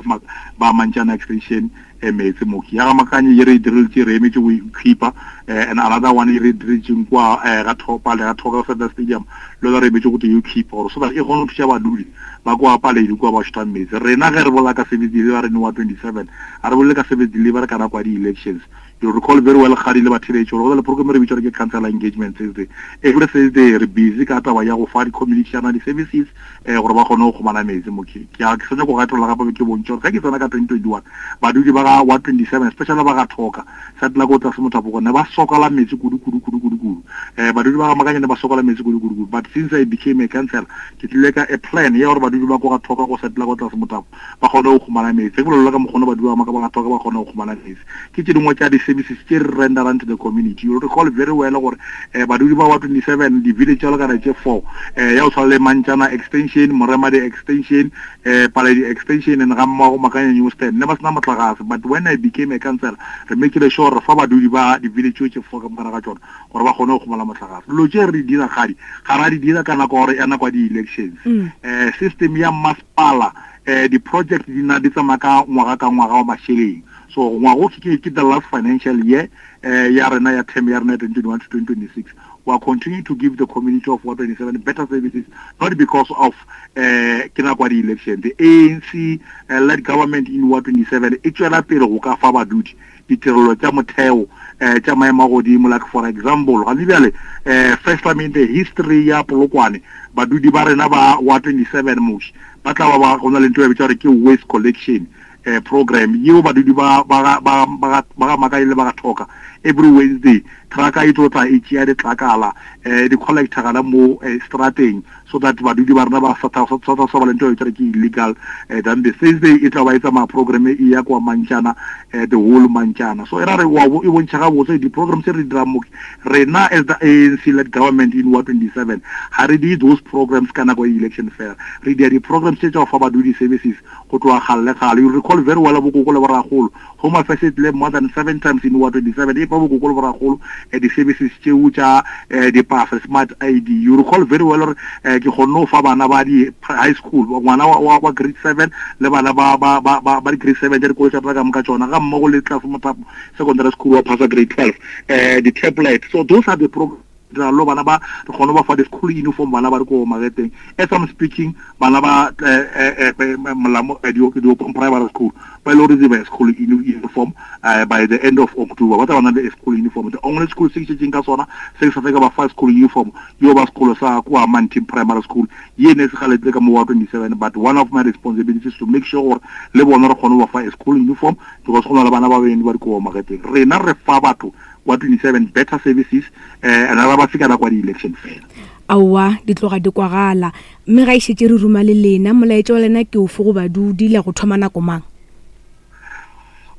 ba Mantšana extension eh metsi mo. Ya ga Makanye ye re e direletše re emetše go equipa, eh and another one e re diretšeng kwa eh ga Thopa le ga Thoka Center Stadium le yona re emetše go tlo equipa gore so that e kgone go thuša badudi ba kwa Paledi kwa ba shotang metsi. Rena ge re bolela ka service delivery wa twenty-seven a re bolele ka service delivery ka nako ya di-elections. You recall very well kgadi le batheletši gore go na le program re bitša gore ke councillor engagement Thursday. Every Thursday re busy ka taba ya go fa di-community tša rena di-services eh gore ba kgone go kgomana metsi mo. Ke a ke sa nyaka go gatolla gape ke bontšhe gore ge ke tsena ka twenty twenty-one badudi ba ga wa twenty-seven especially ba ga Thoka sa tla ko tlase mothapo ne ba sokola metsi kudu kudu kudu kudu kudu. Eh badudi ba ga Makanye ne ba sokola metsi kudu kudu kudu, but since I became a councillor ke tlile ka a plan ya gore badudi ba ko ga Thoka go setla ko tlase mothapo ba kgone go kgomana metsi. Ke bolela ka mokgono badudi ba ba ga Thoka ba kgone go kgomana metsi. Ke tše dingwe tša di-services tše re renderang to the community. You recall very well gore eh badudi ba wa twenty-seven di-village tša lekana tše four eh ya go tshwana le Mantšana extension, Moremadi extension, eh Paledi extension and ga mmogo Makanya New Stand ne ba sena motlakase. But when I became a councillor re make sure re fa badudi ba di-village tše four ka mogare ga tšona gore ba kgone go kgomala motlakase. Dilo tše re di dira kgadi ga ra di dira ka nako gore ya nako ya di-elections. Eh system ya masepala eh di-project di na di tsamaya ka ngwaga ka ngwaga wa mašeleng. So ngwago ke ke the last financial year eh ya rena ya term ya rena ya twenty twenty-one to twenty twenty-six. We are continuing to give the community of Ward twenty-seven better services, not because of eh ke nako ya di-election. The A N C uh, led government in Ward twenty-seven e tšwela pele go ka fa badudi ditirelo tša motheo eh tša maemo a godimo. Like for example ga bjale eh first time in the history ya Polokwane badudi ba rena ba Ward twenty-seven moši ba tla ba ba go na le ntho e bitšwa gore ke waste collection eh program yeo badudi ba ba ba ba ba Makanye le ba ga Thoka every Wednesday trucka e tlo tla e tšea ditlakala eh di collector gana mo eh, strateng so that badudi ba rena ba sa sa sa ba le ntho e ke illegal eh, than the Thursday e tla ba e tsamaya program e ya kwa Mantšana eh, the whole Mantšana so e ra re wa e bontšha ga botse di programs tse re di dirang mo rena as the A N C led government in Ward twenty-seven ha re di those programs ka nako ya election fair re dia di programs tse tsa go fa badudi services go tloga gale gale. You recall very well bokoko le boragolo Home Affairs e tlile more than seven times in Ward twenty-seven e fa bokoko le boragolo eh, di services tseo tša eh, di pasa smart I D. You recall very well gore eh, ke kgonne go fa bana ba di high school ngwana wa wa grade seven le bana ba ba ba ba di grade seven tša dikolo tša rena ka moka tšona ga mmogo le Tlase Mothapo secondary school wa phasa grade twelve eh di tablet. So those are the programs lo bana ba re kgone ba fa di school uniform bana ba re ko marketeng. As I'm speaking bana ba eh eh molamo di primary school ba ile receive school uniform uh, by the end of October ba tla bana le school uniform. The only school se tšeng ka sona se sa ka ba fa school uniform yo ba sekolo sa kwa Mantin primary school ye ne se galetle ka mo wa twenty-seven, but one of my responsibilities is to make sure gore le bona re kgone ba fa school uniform because go na le bana ba beng ba di ko marketeng. Rena re fa batho wa twenty-seven better services eh and ra ba fika kwa di election fair. Aowa di tloga di kwagala mme ga išetse re ruma le lena molaetša wa lena ke ofe go badudi le go thoma nako mang?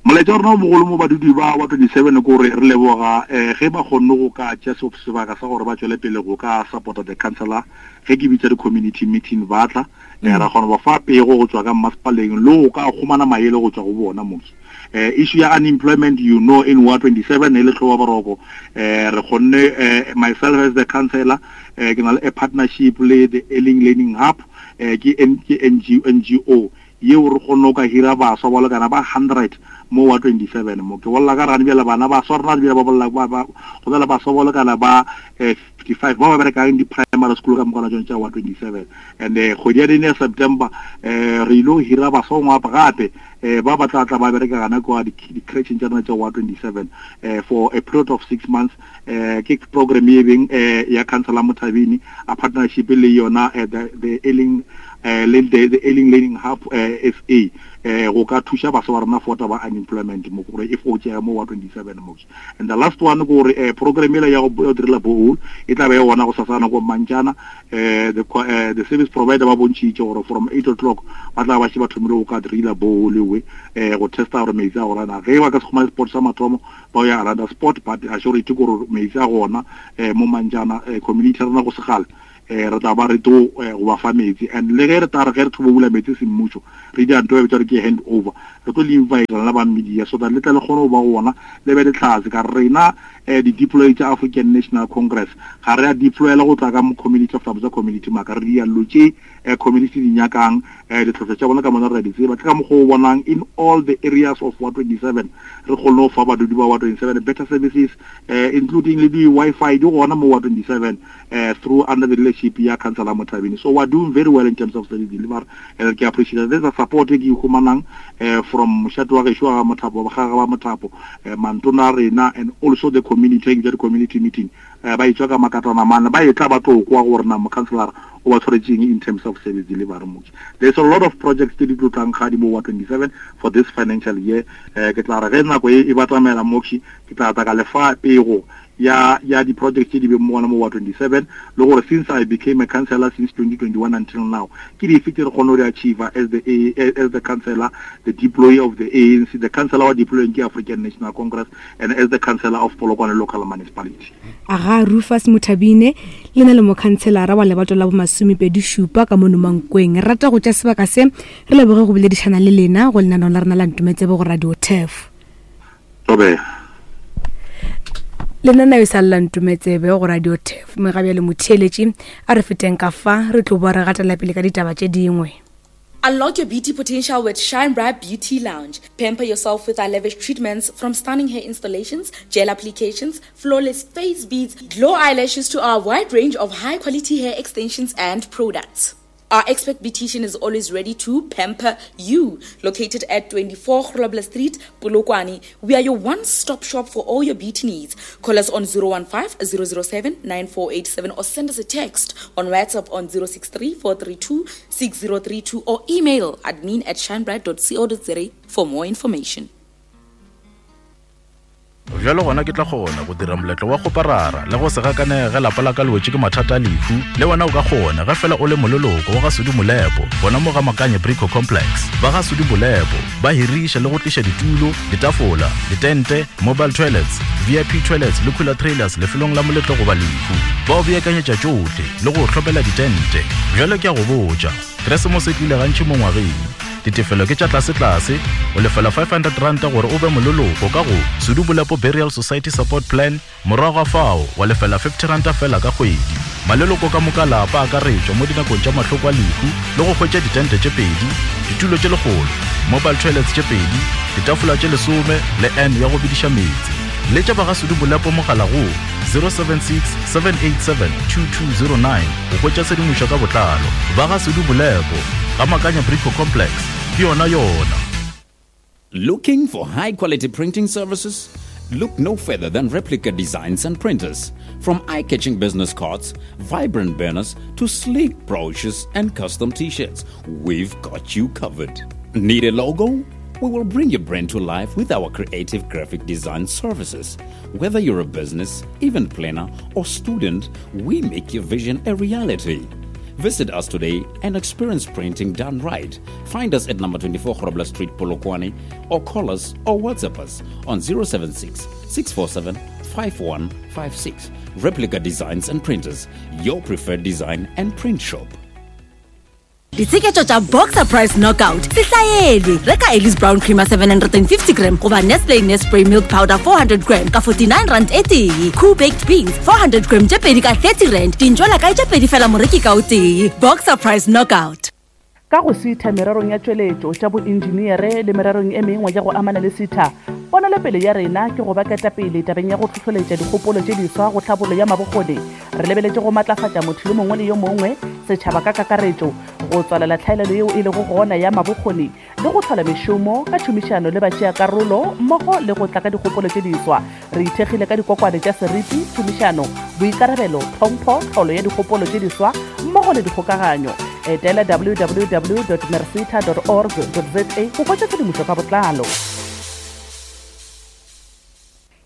Molaetša wa rena o mogolo mo badudi ba wa twenty-seven ke gore re leboga eh ge ba kgonne go ka tšea sebaka sa gore ba tšwele pele go ka supporta the councillor ge ke bitsa di-community meeting ba tla eh ra kgona ba fa pego go tswa ka mmasepaleng le go ka kgomana maele go tswa go bona moki. Uh, issue ya unemployment, you know, in Ward twenty-seven e le tlhoba boroko eh re kgonne eh, myself as the councillor eh ke na le a partnership le the Early Learning Hub eh ke N G O yeo re kgonne go ka hira baswa ba lekana ba hundred mo wa twenty-seven mo ke bolla ka rane bjale bana ba swa rena bjale ba bolla ba ba go na le baswa ba lekana ba fifty-five ba ba berekang di primary school ka mokana tšona tša wa twenty-seven and kgwedi ya dine ya September eh re ile hira baswa ngwa gape eh ba ba tla tla ba bereka gana kwa di creche tša rena tša wa twenty-seven eh for a period of six months eh ke program ye beng eh ya Councillor Mothabini a partnership le yona the the Early eh le the Early Learning Hub S A eh go ka thuša baswa ba rena for ba unemployment mo gore e fokotšega mo wa twenty-seven mo. And the last one gore eh program ela ya go direla borehole e tla be e gona go sasana go Mantšana eh the uh, the service provider ba bontšhitše gore from eight o'clock ba tla ba še ba thomile go ka direla borehole we eh go testa gore metsi a gona ge ba ka se khumane spot sa mathomo ba ya another spot, but assurity gore metsi a gona eh mo Mantšana community rena go segale eh re tla ba re to go ba fa metsi. And le ge re tla re ge re thobo bula metsi semmušo re di anto e re ke hand over re tlo le invite lena ba media so that le tla le kgone go ba gona le be le tlhatse ka rena eh di deploy tša African National Congress ga re a deployela go tla ka mo community of tsa community maka re di allo tše community di nyakang eh ditlhotlo tša bona ka mona re di tseba ke ka mokgwa o bonang in all the areas of Ward twenty-seven re kgone go fa badudi ba Ward twenty-seven better services eh including le di Wi-Fi di gona mo Ward twenty-seven eh through under the leadership ya Councillor Mothabini. So we are doing very well in terms of service delivery and ke appreciate there's a support e ke humanang eh from moshate wa gešo wa Mothapo ba ga ba Mothapo mantona rena and also the community the community meeting ba itswa ka makatwana mana ba etla ba tlo kwa gore na mo councillor o ba tshwaretseng in terms of service delivery mo. There's a lot of projects tse di tlo tlang ga di mo wa twenty-seven for this financial year eh ke tla re ge nako e ba tsamela moxi ke tla tla ka lefa pego ya ya di projects tse di beng mo gona mo wa twenty-seven le gore since I became a councillor since twenty twenty-one until now ke di efe tse re kgone go di achieve as the as the councillor, the deployee of the A N C, the councillor wa deploying ke African National Congress and as the councillor of Polokwane local municipality. Aga Rufus Mothabine le na le mokhanselara wa lebato la bomasomepedi šupa ka mono Mankweng. Re rata go tša sebaka se re leboge go boledišana le lena go lenaneo la rena la Ntometsebe go Radio Turf. Tobe lenaneo e sa lla Ntometsebe go Radio Turf mme ga bjale motheeletši a re feteng ka fa re tlo boa re gatela pele ka ditaba tše dingwe. Unlock your beauty potential with Shine Bright Beauty Lounge. Pamper yourself with our lavish treatments from stunning hair installations, gel applications, flawless face beads, glow eyelashes to our wide range of high-quality hair extensions and products. Our expert beautician is always ready to pamper you. Located at twenty-four Grobler Street, Polokwane, we are your one-stop shop for all your beauty needs. Call us on zero one five, zero zero seven, nine four eight seven or send us a text on WhatsApp on zero six three, four three two, six zero three two or email admin at shinebright dot co dot za for more information. Bjalo gona ke tla kgona go dira moletlo wa kgoparara le go se gakanege ge lapa la ka le wetše ke mathata a lehu. Le wena o ka kgona ge fela o le moleloko wa ga Sudi Molepo gona mo ga Makanye Brico Complex. Ba ga Sudi Molepo ba hiriša le go tliša ditulo, ditafola, ditente, mobile toilets, V I P toilets le cooler trailers lefelong la moletlo goba lehu. Ba o beakanyetša tšohle le go hlopela ditente. Bjalo ke a go botša, Keresemose e tlile gantši mo ngwageng. Ditefelo ke tša tlase-tlase, o lefela five hundred rand gore o be moleloko ka go Sudi Molepo Burial Society Support Plan, morago ga fao wa lefela fifty rand fela ka kgwedi. Maleloko ka moka lapa akaretšwa mo dinakong tša mahloko a lehu le go hwetša ditente tše pedi, ditulo tše lekgolo, mobile toilets tše pedi, ditafola tše lesome le N ya go bediša meetse. Letša ba ga Sudi Molepo mogala go zero seven six, seven eight seven, two two zero nine go hwetša tshedimošo ka botlalo. Ba ga Sudi Molepo ga Makanya Brico Complex ke yona yona. Looking for high quality printing services? Look no further than Replica Designs and Printers. From eye-catching business cards, vibrant banners, to sleek brochures and custom t-shirts, we've got you covered. Need a logo? We will bring your brand to life with our creative graphic design services. Whether you're a business, event planner, or student, we make your vision a reality. Visit us today and experience printing done right. Find us at number twenty-four Grobler Street, Polokwane, or call us or WhatsApp us on zero seven six, six four seven, five one five six. Replica Designs and Printers, your preferred design and print shop. Ditsheketšo tša Boxer Price Knockout se hlaelwe. Reka Ellis Brown Creamer seven hundred and fifty gram goba Nestle Nespray Milk Powder four hundred gram ka forty-nine rand e tee. Cool Baked Beans four hundred gram tše pedi ka thirty rand. Dintšwela kae tše pedi fela moreki ka o tee. Boxer Price Knockout. Ka go sitha mererong ya tšweletšo tša boenjiniere le mererong e mengwe ya go amana le sitha, ponelopele ya rena ke go ba ketapele tabeng ya go hlohloletša dikgopolo tše diswa go tlhabollo ya mabokgoni. Re lebeletše go matlafatša motho yo mongwe le yo mongwe, setšhaba ka kakaretšo, go tswalela tlhaelelo yeo e lego gona ya mabokgoni le go hlola mešomo ka tšhomišano le batšeakarolo mmogo le go tla ka dikgopolo tše diswa. Re ithekgile ka dikokwane tša seriti, tšhomišano, boikarabelo, tlhompho, tlholo ya dikgopolo tše diswa mmogo le dikgokaganyo. Etela w w w dot mercita dot org dot z a go hwetša tshedimošo ka botlalo.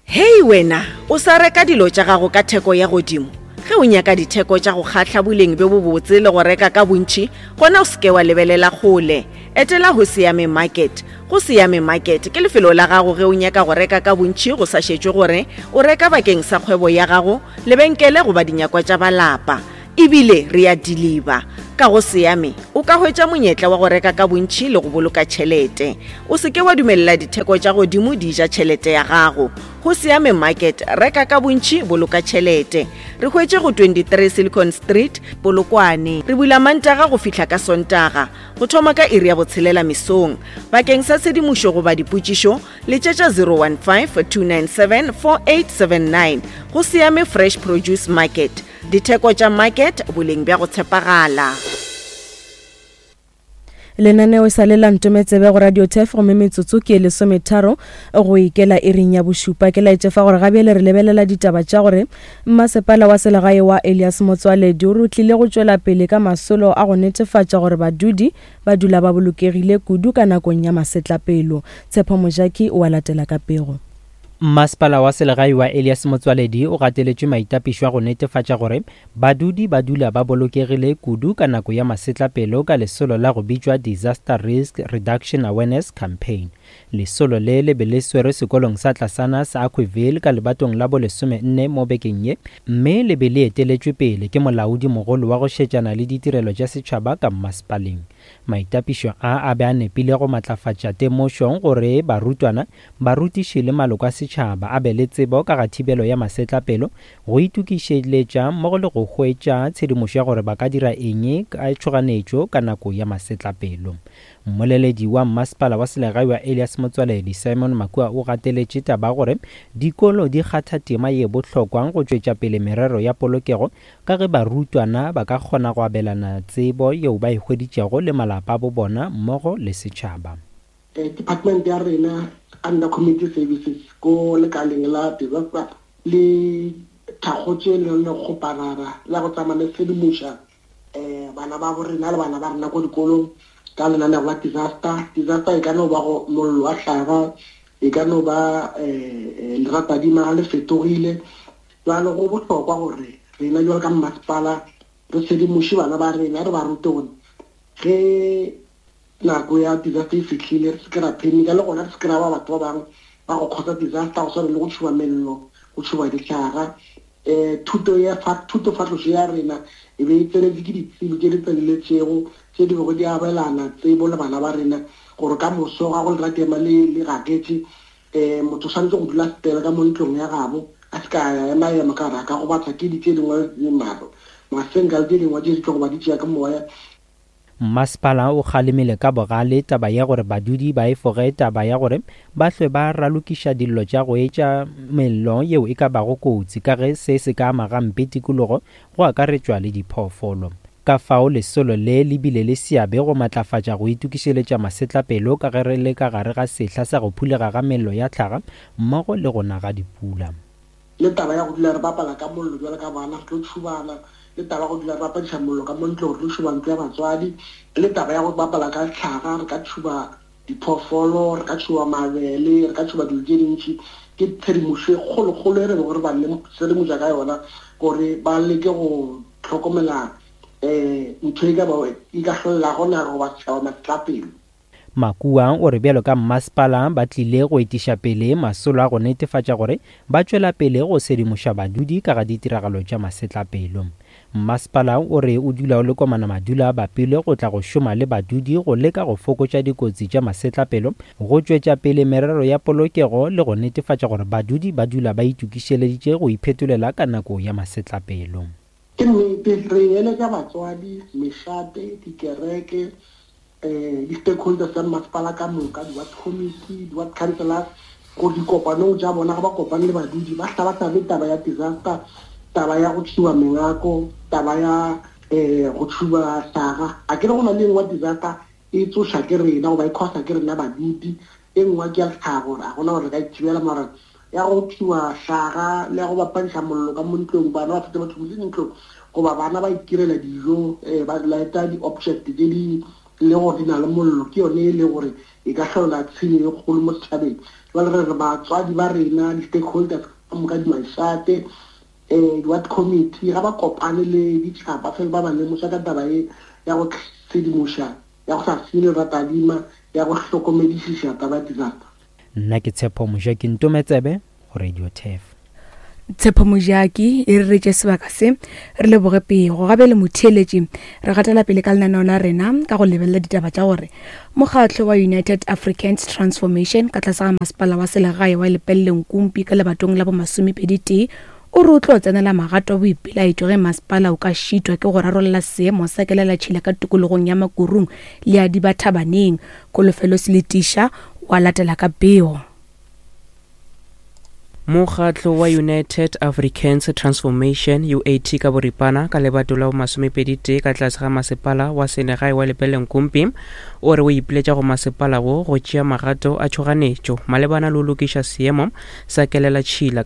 Hei wena, o sa reka dilo tša gago ka theko ya godimo. Ge o nyaka ditheko tša go kgahla boleng bjo bobotse le go reka ka bontši, gona o seke wa lebelela kgole. Etela go Siame Market. Go Siame Market ke lefelo la gago ge o nyaka go reka ka bontši go sa šetšwe gore o reka bakeng sa kgwebo ya gago, lebenkele goba dinyakwa tša balapa. Ebile re a deliver. Ka go Siame o ka hwetša monyetla wa go reka ka bontši le go boloka tšhelete. O seke wa dumelela ditheko tša godimo di ja tšhelete ya gago. Go Siame Market, reka ka bontši, boloka tšhelete. Re hwetše go twenty-three Silicon Street, Polokwane. Re bula Mantaga go fihla ka Sontaga, go thoma ka iri ya botshelela mesong. Bakeng sa tshedimošo goba dipotšišo, letšetša zero one five, two nine seven, four eight seven nine. Go Siame Fresh Produce Market. Ditheko tša market, boleng bja go tshepagala. Lenaneo sa le la Ntometsebe go Radio Turf gomme metsotso ke lesometharo go ikela iring ya bošupa. Ke laetše fa gore gabjale re lebelela ditaba tša gore mmasepala wa selegae wa Elias Motsoaledi o re tlile go tšwela pele ka masolo a go netefatša gore badudi ba dula ba bolokegile kudu ka nakong ya masetlapelo. Tshepo Mojaki o a latela ka pego. Mmasepala wa selegae wa Elias Motsoaledi o gateletše maitapišo a go netefatša gore badudi ba dula ba bolokegile kudu ka nako ya masetlapelo ka lesolo la go bitšwa Disaster Risk Reduction Awareness Campaign. Lesolo le le be le swerwe sekolong sa tlasana sa Aquiville ka lebatong la bolesomenne mo bekeng ye, mme le be le eteletšwe pele ke molaodi mogolo wa go šetšana le ditirelo tša setšhaba ka mmasepaleng. Maitapišo a a be a nepile go matlafatša temošong gore barutwana, barutiši le maloko a setšhaba a be le tsebo ka ga thibelo ya masetlapelo, go itokišeletša mmogo le go hwetša tshedimošo ya gore ba ka dira eng ka tšhoganetšo ka nako ya masetlapelo. Mmoleledi wa mmasepala wa selegae wa Elias Motsoaledi Simon Makua o gateletše taba gore dikolo di kgatha tema ye bohlokwa go tšwetša pele merero ya polokego ka ge barutwana ba ka kgona go abelana tsebo yeo ba e hweditšego le malapa a bo bona mmogo le setšhaba. Department ya rena under community services ko lekaleng la disaster le thakgotše le le kgoparara la go tsamaya le sedimoša um bana ba bo rena le bana ba rena ko dikolong ka lenaneo la disaster. Disaster e ka no ba go mollo wa hlaga, e ka no ba um leratadima ga le fetogile. Jalo go bohlokwa gore rena jalo ka mmasepala re sedimoše bana ba rena, re ba rute gore ge nako ya disaster e fihlile re se ke ra phenika, le gona re se ke ra ba batho ba bangwe ba go kgotsa disaster, go tshwana le go tšhuba mello, go tšhuba dihlaga. Um thuto ya thutofatlošo ya rena e be e tsenetše ke ditsebi tše di tseneletšego tše di bego di abelana tsebo le bana ba rena, gore ka moso ga go leratema le le gaketše, um motho o swanetše go dula setela ka mo ntlong ya gabo, a se ka ya ema ema ka re a ka gobatša ke di tše dingwe maro masenka le tše dingwe tše di tlo go ba di tšea ke moya. Mmasepala o kgalemile ka bogale taba ya gore badudi ba efoge taba ya gore ba hlwe ba ralokiša dillo tša go etša mello yeo e ka bago kotsi, ka ge se se ka ama gampe tikologo go akaretšwa le diphoofolo. Ka fao lesolo le le bile le seabe go matlafatša go itokišeletša masetlapelo ka ge re le ka gare ga sehla sa go phulega ga mello ya tlhaga mmogo le go na ga dipula. Le taba ya go dula re bapala ka mollo jwalo ka bana, re tlo tšhubana, le taba ya go dula re bapadiša mollo ka mo ntlong, re tlo tšhuba ntlo ya batswadi, le taba ya go bapala ka tlhaga, re ka tšhuba diphoofolo, re ka tšhuba mabele, re ka tšhuba dilo tše dintši. Ke tshedimošo e kgolokgolo e re bego re ba sedimoša ka yona gore ba leke go hlokomela um ntho e ka ba e ka hlolelago naga goba setšhaba masetlapelo. Makua o re bjalo ka mmasepala ba tlile go etiša pele masolo a go netefatša gore ba tšwela pele go sedimoša badudi ka ga ditiragalo tša masetlapelo. Mmasepala o re o dula o le komana madula a bapile go tla go šoma le badudi go leka go fokotša dikotsi tša masetlapelo, go tšwetša pele merero ya polokego le go netefatša gore badudi ba dula ba itokišeleditše go iphetolela ka nako ya masetlapelo. Ke nnete, re eletša batswadi, mešate, dikereke, um di-stakeholders tsa mmasepala ka moka, di-ward committee, di-ward councillors, gore dikopanong tša bona ga ba kopane le badudi ba hlabahlabe taba ya disaster, taba ya go tšhuba mengako, taba ya um go tšhuba hlaga. A ke re go na le engwe disaster e tsoša ke rena goba e causa ke rena badudi, e nngwe ke ya tlhago, a gona gore re ka e thibela, mara ya go tšhuba hlaga le ya go bapadiša mollo ka mo ntlong, bana ba fetsa ba tšhubile ntlong goba bana ba itirela dijo, um ba lighta di-object tše di le gore di na le mollo, ke yone e le gore e ka hlola tshenyo e kgolo mo setšhabeng. Jwale re re batswadi ba rena, di-stakeholders ka moka, di-mashate, um di-ward committee, ga ba kopane le ditšhaba fela ba ba lemoša ka taba e ya go sedimoša, ya go sa senye leratadima, ya go hlokomedišiša taba ya disaster. Nna ke Tshepo Mojaki, Ntometsebe go Radio Turf. Tshepo Mojaki e re retše sebaka se, re leboge pego. Gabe le motheeletši, re gatela pele ka lenaneo la rena ka go lebelela ditaba tša gore mokgatlo wa United Africans Transformation ka tlase ga masepala wa selegae wa Lepelle Nkumpi ka lebatong la bomasomepedi tee o re o tlo tsenela magato a boipelaetšo ge masepala o ka šitwa ke go rarolla seemo sa kelelatšhila ka tikologong ya Makurung le ya Dibathabaneng. Kolofelo Seletiša wa latela ka pego. Mokgatlo wa United Africans Transformation U A T ka boripana ka lebato la masomepedi tee ka tlase ga masepala wa selegae wa Lepelle Nkumpi o re o ipiletša go masepala wo go tšea magato a tšhoganetšo malebana le go lokiša seemo sa kelelatšhila